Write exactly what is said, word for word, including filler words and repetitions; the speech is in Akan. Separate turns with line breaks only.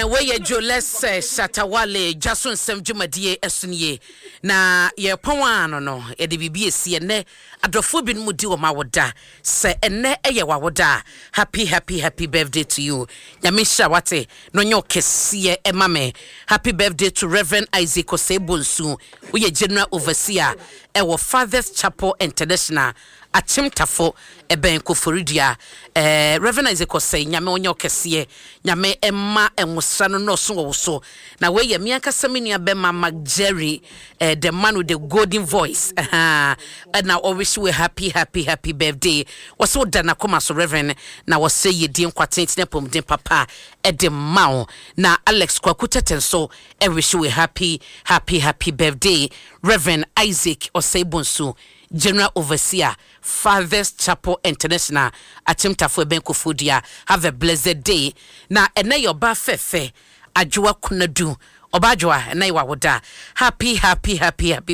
Wɔyɛ Jolɛsɛ Shatawale dwa so nsɛm dwumadie ɛso nie, na yɛpɔn a no no yɛde biribi esi. Ɛnɛ adɔfoɔ binom di wɔn awoda. Sɛ ɛnɛ ɛyɛ w'awoda a, happy, happy, happy birthday to you. Nyame nhyira wate na ɔnyɛ ɔkɛseɛ ɛma me. Happy birthday to Reverend Isaac Osei Bonsu. Woyɛ general overseer ɛwɔ Fathers Chapel International, Akyemtafo, ɛbɛn Koforidua. ɛɛ reverend Isaac Osei, Nyame ɔnyɛ ɔkɛseɛ. Nyame ɛma ɛnwosra no nɔɔso wɔ wo so. Na wei me ankasa me nua bɛma Mac Jerry, eh, the man with the golden voice, ɛna ɔwish we happy, happy, happy birthday. Wɔsɛ woda n'akoma so, Reverend, na wɔsɛ yɛdie nkwatenten, apɔmuden papa ɛde ma wo. Na Alex Kwaku Tete nso ɛwish we happy, happy, happy birthday, Reverend Isaac Osei Bonsu, general overseer, Fathers Chapel International, Akyemtafo, ɛbɛn Koforidua. Have a blessed day. Na ɛnɛ yɛ ɔbaa fɛfɛ Adwoa Kunadu. Ɔbaa Adwoa, ɛnɛ yɛ wawoda. Happy, happy, happy, happy.